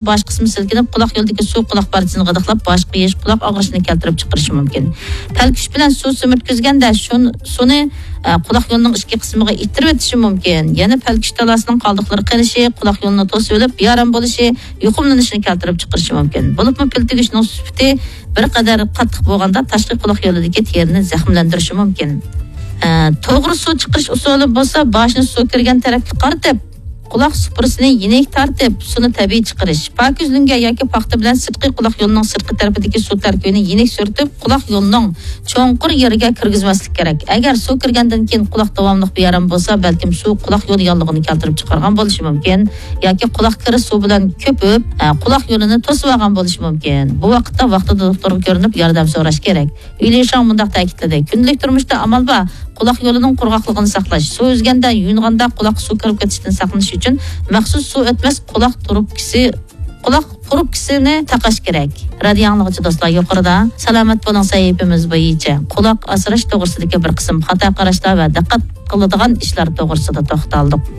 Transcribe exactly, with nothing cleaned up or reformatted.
باش قىسمى سىلكىنىپ، قۇلاق يولىدىكى سۇ قۇلاق پارچىسىنى غىدىقلاپ، باشقا يېيىش، قۇلاق ئاغرىشىنى كەلتۈرۈپ چىقىرىشى مۇمكىن. پەلكۈش بىلەن سۇ سۈمۈرتكۈزگەندە شۇن-، سۇنى، ئە، قۇلاق يولىنىڭ ئىچكى قىسمىغا ئىتتىرىۋېتىشى مۇمكىن. يەنە پەلكۈش تالاسىنىڭ قالدۇقلىرى قېلىشى، قۇلاق يولىنى توسۇۋېلىپ، بىئارام بولۇشى، يۇقۇملىنىشىنى كەلتۈرۈپ چىقىرىشى مۇمكىن. بولۇپمۇ پىل تۈگۈشنىڭ سۈپىتى بىر قەدەر قاتتىق بولغاندا، تاشقى قۇلاق يولىدىكى تېرىنى زەخىملەندۈرۈشى مۇمكىن. ئە، توغرا سۇ چىقىرىش ئۇسۇلى بولسا، باشنى سۇ كىرگەن تەرەپكە قارىتىپ، قۇلاق سۇپرىسىنى يېنىك تارتىپ، سۇنى تەبىئىي چىقىرىش. پاكىز لۆڭگە ياكى پاختا بىلەن سىرتقى قۇلاق يولىنىڭ سىرتقى تەرىپىدىكى سۇ تەركىبىنى يېنىك سۈرتۈپ، قۇلاق يولىنىڭ چوڭقۇر يېرىگە كىرگۈزمەسلىك كېرەك. ئەگەر سۇ كىرگەندىن كېيىن قۇلاق داۋاملىق بىئارام بولسا، بەلكىم سۇ قۇلاق يولى ياللۇغىنى كەلتۈرۈپ چىقارغان بولۇشى مۇمكىن. ياكى قۇلاق كىرى سۇ بىلەن كۆپۈپ، ئە، قۇلاق يولىنى توسۇۋالغان بولۇشى مۇمكىن. بۇ ۋاقىتتا ۋاقتىدا دوختۇرغا كۆرۈنۈپ ياردەم سوراش كېرەك. ۋىلى شاڭ مۇنداق تەكىتلىدى: كۈندىلىك تۇرمۇشتا ئامال بار، قۇلاق يولىنىڭ قۇرغاقلىقىنى ساقلاش. سۇ ئۈزگەندە، يۇيۇنغاندا قۇلاققا سۇ كىرىپ كېتىشتىن ساقلىنىش ئۈچۈن مەخسۇس سۇ ئۆتمەس قۇلاق تۇرۇپكىسى، قۇلاق پۇرۇپكىسىنى تاقاش كېرەك. رادىيو ئاڭلىغۇچى دوستلار، يۇقىرىدا سالامەت بولۇڭ سەھىپىمىز بويىچە قۇلاق ئاسراش توغرىسىدىكى بىر قىسىم خاتا قاراشلار ۋە دىققەت قىلىدىغان ئىشلار توغرىسىدا توختالدۇق.